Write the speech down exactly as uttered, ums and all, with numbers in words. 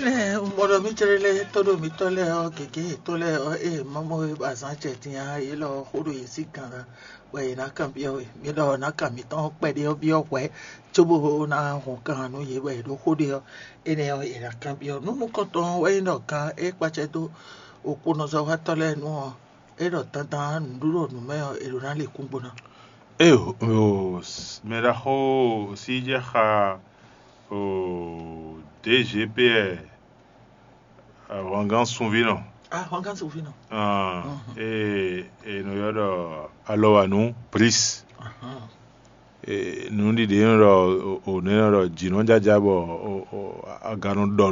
Nɛ́ un mɔ ɖɔ mì cɛ́ɖɛ́ lɛ́ɛ tɔ́ ɖo mǐtɔn lɛ́ɛ ɔ́, gěgé yětɔn lɛ́ɛ ɔ́, ée Mawu e ba zán acɛ din ǎ, yě lɔ xó ɖo yě sí gan ná, bɔ yě ná kanbyɔ́ we. Mi ɖɔ nǎ kan mǐtɔn kpɛɖé ɔ́ byɔ́ hwɛ̌, cóbó ná hɔn kan nú yě bɔ yě ɖó xó ɖe ɔ́, énɛ́ ɔ́, yě ná kanbyɔ́. Nú nukɔntɔn ɔ́ wɛ nyí ɖɔ gan e kpacɛ dó okponɔzɔ́watɔ́ lɛ́ɛ nu ɔ́, é ɖɔ dandan nǔɖuɖu nǔ mɛ ɔ́, è ɖǒ ná lɛ kúngbo ná. Eo, o, mɛ ɖaxó Sijɛxa, o, D G P R, ahwangán sunvínɔ. Ahwangán sunvínɔ. Ah, e e nɔ ylɔ́ ɖɔ alɔwanu pris. E, nǔɖiɖi e nɔ ɖɔ, o, o, nɛ nɔ ɖɔ jǐ nɔ jaja bɔ, o, o, aga nɔ ɖɔ